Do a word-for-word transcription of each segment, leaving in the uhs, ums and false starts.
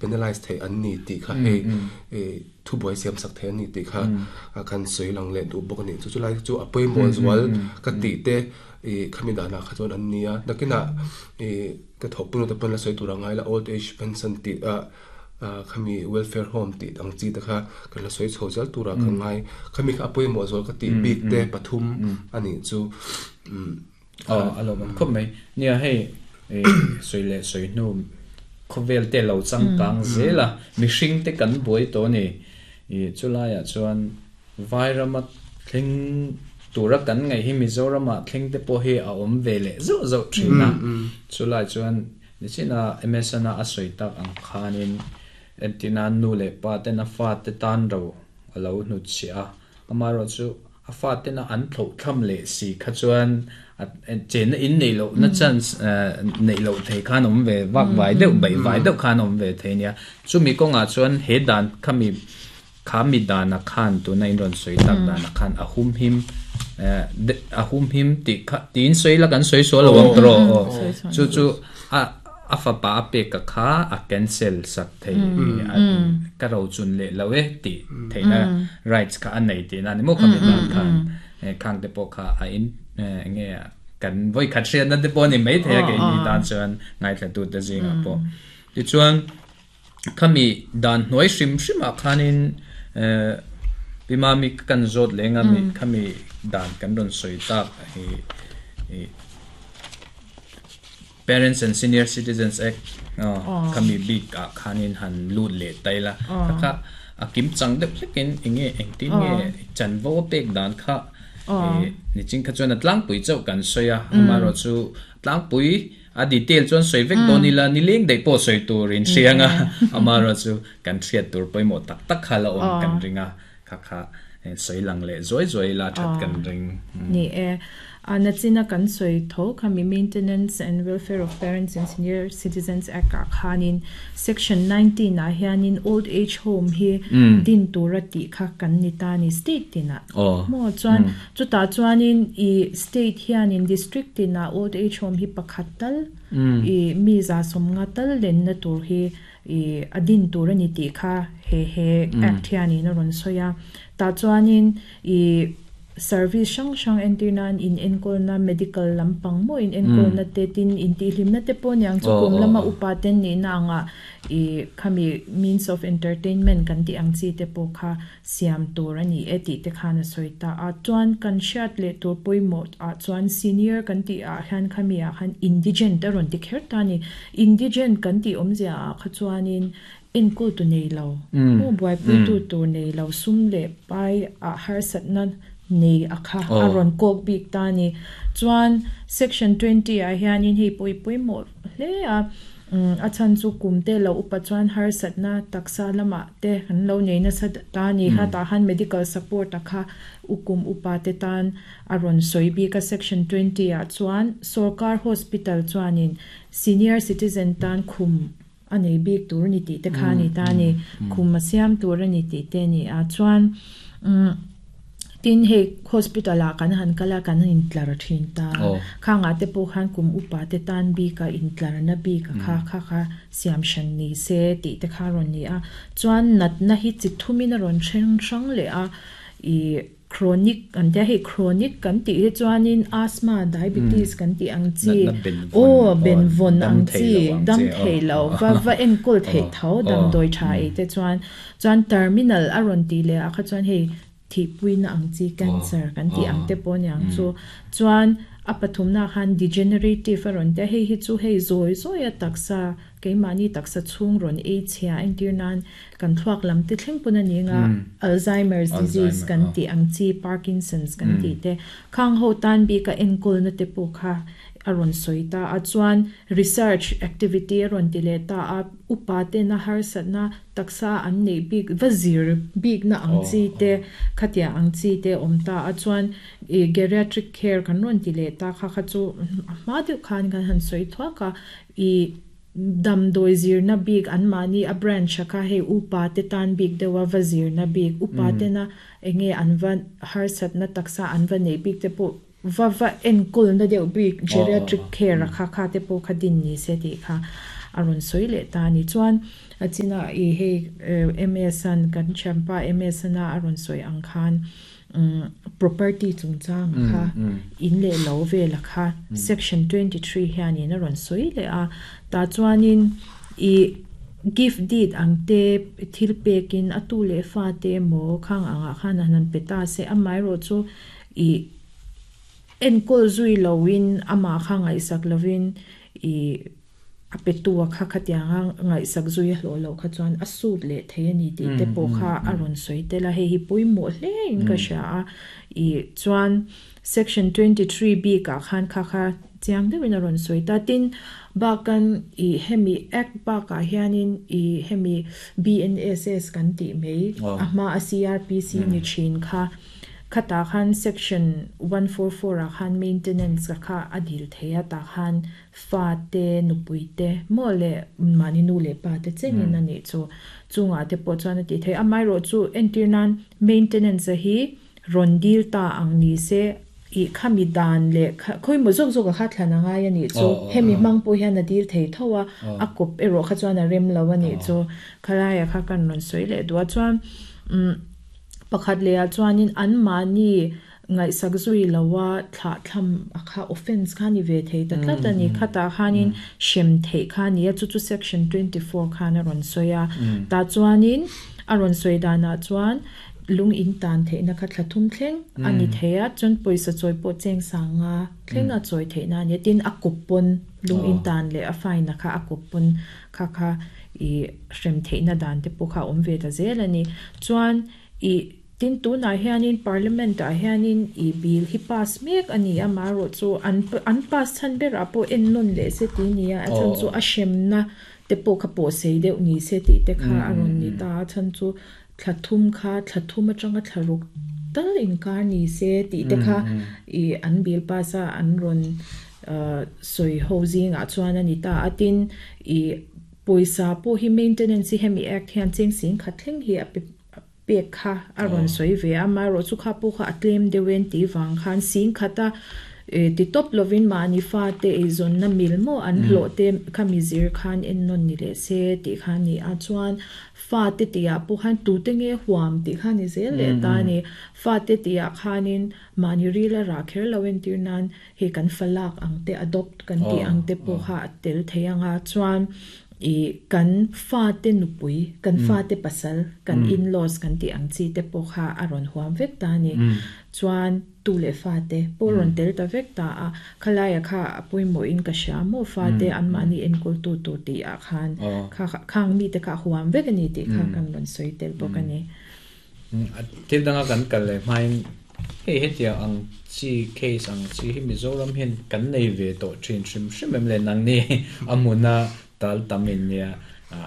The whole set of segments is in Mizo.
Penalize thei an ni tih kha hei thu buai siam sak thei an ni tih kha kan sawi lang leh duh bawk a ni. Chu chu lai chu a pawimawh zual ka tih te khami danah kha chuan an ni a. Nakinah ka thawkpui te pawn la sawi tur a ngai la, old age pension tih a khami welfare home tih ang chi te kha kan la sawi chho zel turah ka ngai. Khami kha a pawimawh zual ka tih bik te pathum a nih chu. Aw, a lo awm khawp mai. Nia, hei sawi leh sawi hnu khawvel te lo changkang zel a, mihring te kan buai tawh a ni. Chulaiah chuan Vairama thleng tura kan ngaih hi Mizoramah thleng te pawh hi a awm ve leh zauh zauh thin a. Chulai chuan nichina M S N a a sawi tak ang khanin entina nu leh pa ten a fa te tan ro a lo hnutchhiah a, amaherawhchu a fa tena an thloh thlam leh si kha chuan chenna in nei loh na chance neih loh thei khan awm ve vak vai deuh bai vai deuh khan awm ve thei nia. Chumi kawngah chuan he dan khami kha mi dana khan tuna in rawn sawi tak dana khan a hum him a hum him tih kha tiin sawi la kan sawi sual lo ang tawh. Chu chu a a fapa a pek ka kha a cancel sak thei, ka ro chun leh lo e tih theihna rights kha a nei tih na ni maw? Khami dan khan khang te pawh kha a in nge kan voi khat hriat na te pawh ni mai thei a, ke ni tan chuan ngaithla tu te zingah pawh. Tichuan khami dan hnuai hrim hrimah khanin pimami kan zawt lenga mi khami dan kan rawn sawi tak hi Parents and Senior Citizens Act khami bik ah khanin han lut leh tai la, kha a kim chang deuh hlekin enge engtin nge chanvo pek dan kha nichin kha chuan a tlangpui chauh kan sawi a, amaherawh chu tlangpui a detail chuan sawi vek dawn ila nileng daih pawh sawi tur in hrianga, amaherawh chu kan hriat tur pawimawh tak tak kha la awm kan ringa, kha kha sawi lang leh zuai zuai la that kan ring. Ni e, nachina kan sawi tho khami Maintenance and Welfare of Parents and Senior Citizens Act ah khanin section nineteen ah hianin old age home hi din tura tih kha kan ni ta ni state tina mo. Chuan chuta chuanin i state hianin district tina old age home hi pakhat tal i mi za som nga tal len na tur hi i adin tur ani tih kha he he act hianin a rawn sawi a. Ta chuanin i service hrang hrang entirnan in enkawlna, medical lampang mo in enkawlna te, tin in tihhlimna te pawh niang chu kum lama upa ten ni na anga i khami means of entertainment kan tih ang chi te pawh kha siam tur ani e tih te khan a sawi ta a. Chuan kan hriat leh tur pawimawh ah chuan senior kan tih ah hian khami ah khan indigent a rawn ti kher ta ni. Indigent kan tih awmzia ah kha chuanin enkawl tu nei lo mu, buaipui tu tur nei lo, sum leh pai ah harsatna nei a kha a rawn kawk bik ta ni. Chuan section twenty ah hianin hei pawh pawimawh hle a, a chhan chu kum te lo upa chuan harsatna taksa lamah te kan lo nei nasa ta ni kha. Tah han medical support a kha ukum upa te tan a rawn sawi bik a section twenty ah. Chuan sarkar hospital chuanin senior citizen tan khum a nei bik tur ni tih te kha ni ta ni, khum a siam tur ani tih te ni a. Chuan tin hei hospital ah kan han kala, kan in tlar thin ta, khanga te pawh khan kum upa te tan bika in tlar na bik kha kha kha siam shan ni se tih te kha rawn ni a. Chuan natna hi chi thumin a rawn then hrang leh a. I chronic an tia, hei chronic kan tih hi chuanin asthma, diabetes kan tih ang chi o benvawn ang chi dam thei lo va va enkawl theih tho damdawi tha ei te. Chuan chuan terminal a rawn ti leh a kha chuan hei thihpuina ang chi, cancer kan tih ang te pawh niang chu. Chuan a pathumna khan degenerative a rawn tia, hei hi chu hei zawi zawi a taksa, keimahni taksa chhung rawn ei chhia, entir nan kan thluak lam te thleng pawn ani nga, Alzheimer's disease kan tih ang chi, Parkinson's kan tih te, khang ho tan bika enkawl na te pawh kha a rawn sawi ta a. Chuan research activity a rawn ti leh ta a, upa te na harsatna taksa an nei bik va zir bik na ang chi te, khatia ang chi te awm ta a. Chuan geriatric care kan rawn ti leh ta kha kha chu hma deuh khan kan han sawi thuak a. I damdawi zirna bik an mahni a branch a kha hei upa te tan bik deuha va zirna bik, upa tena enge an va harsatna taksa an va nei bik te pawh va va enkawl na deuh bik geriatric care a kha kha te pawh kha din ni se tih kha. a ron soi le ta ni chuan achina i hei M S an kan champa M S na a ron soi ang khan property chungchang kha in le lo ve la kha section twenty-three hian in a ron soi le a ta chuanin i gift deed ang te thil pekin atu le fa te mo khang anga khan hanan peta se amai ro chu i enkol zui lowin ama kha ngai sak lovin i apetua kha khatianga ngai sak zui hlo lo kha chuan asut le thei ani ti te po kha aron soi te la he hi pui mo hle in ka sha a i chuan section twenty-three B ka khan kha kha chiang de win aron soi ta tin bakan i hemi act ba ka hianin i hemi B N S S kan ti mei ama a C R P C ni chin kha khata khan section one forty-four a khan maintenance ka kha adil theya ta khan fa te nupui te mo le mani nu le pa te chengin ani chu chunga te po chuan ti thei amai ro chu entirnan maintenance hi ron dil ta ang ni se i khami dan le khoi mo zok zok kha thlana nga ya ni chu hemi mang po hian a dil thei thowa a kop ero kha chuan a rem lo ani chu khalaya kha kan ron soi le dua chuan pakhat le a chuanin an mani ngai sak zui lawa thla thlam akha offense kha ni ve thei ta tlat ani khata khanin shem thei kha ni chu chu section twenty-four khana ron soya ta chuanin aron soi dana chuan lung in tan thei na kha thlathum thleng ani theia chon poisa choi po cheng sanga thleng a choi thei na ni tin akupon lung in tan le a fine na kha akupon kha kha i shem thei na dan te po kha om ve ta zel ani chuan i tin tu na hianin parliament a hianin i bill hi pass mek ani ama ro chu an an pass chan ber apo en non le se ti nia a chan chu a shem na te po kha po sei deuh ni se ti te kha aron ni ta chan chu thlathum kha thlathum atanga thlaruk tal in kar ni se ti te kha i an bill pass a an ron soi housing a chuan ani ta atin i poisa po hi maintenance hemi act hian cheng sing kha thleng hi a pek kha aron soi ve ama ro chu kha pu kha atlem dewen ti wang khan sing khata ti top lovin ma ni fa te e zon na mil mo an hlo te khami zir khan en non ni le se ti khan ni a chuan fa te tia pu khan tu te nge huam ti khan ni zel le ta ni fa te tia khanin ma ni ri la ra kher lowen tir nan he kan falak ang te adopt kan ti ang te po kha tel theianga chuan i kan fa te nupui kan fa te pasal kan in laws kan ti ang chi te po kha aron huam vek ta ni chuan tu le fa te po ron tel ta vek ta a khalaya kha apui mo in ka sha mo fa te an mani en kul tu tu ti a khan kha khang mi te kha huam vek ani ti kha kan ron soi tel po kan ni thil danga kan kal le main hei hetia ang chi case ang chi hi Mizoram hian kan nei ve to thin hrim hrim em le nang ni amuna tal tamin nia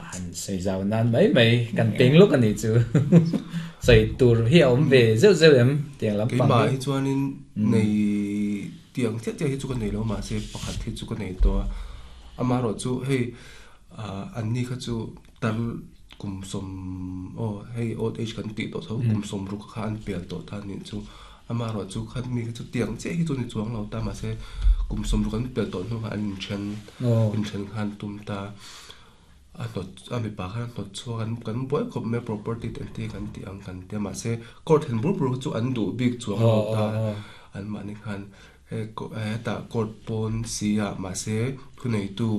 han sei zau nan mai mai kan peng luk ani chu sei tur hi om ve zeu zeu em tiang lam pang ma hi chuanin nei tiang che che hi chu ka nei lo ma se pakhat hi chu ka nei to ama ro chu hei an ni kha chu tal kum som o hei old age kan ti to tho kum som ru kha an pel to ta ni chu ama ro chu khat mi chu tiang che hi chu ni chuang lo ta ma se kum som ru kan pel to nu an chen in chen khan tum ta a not a mi pa khan not chu kan kan boy khop me property ten te kan ti ang kan te ma se court hen bur bur chu an du big chuang lo ta an ma ni khan he ko ta court pon sia ma se khunei tu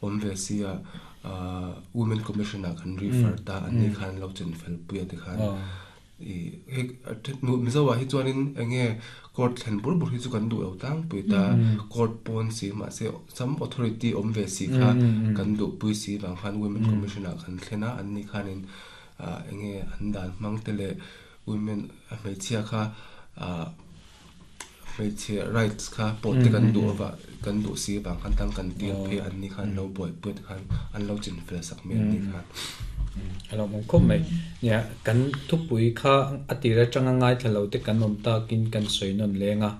om ve sia women commissioner kan refer ta an ni khan lo chen fel puya te khan i he nu mizawa hi chuanin enge court thlen bur bur hi chu kan du lo tang pui ta court pon si ma se some authority om ve si kha kan du pui si wang khan women commissioner kan thlena an ni khanin enge an dan mang te le women a hmeichhia kha hmeichhia rights kha pawh te kan du awa kan du si wang khan tang kan tir phe an ni khan lo boi pui khan an lo chin fel sak me an ni khan alo mong khom mai nia kan thupui kha atira changa ngai thalo te kan om ta kin kan soinon lenga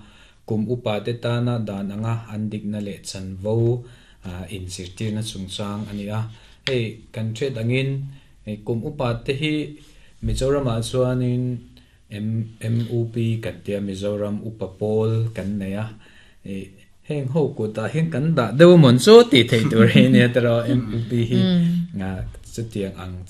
kum upa te ta na dan anga andik na le chanvo in sirtir na chungchang ania hei kan the dangin kum upa te hi Mizoram a chuanin M U P kan tia Mizoram upa pawl kan neia Heng ho ku ta hian kan da deuh mon chu ti thei tur hi ne tero M P hi nga chu tiang ang.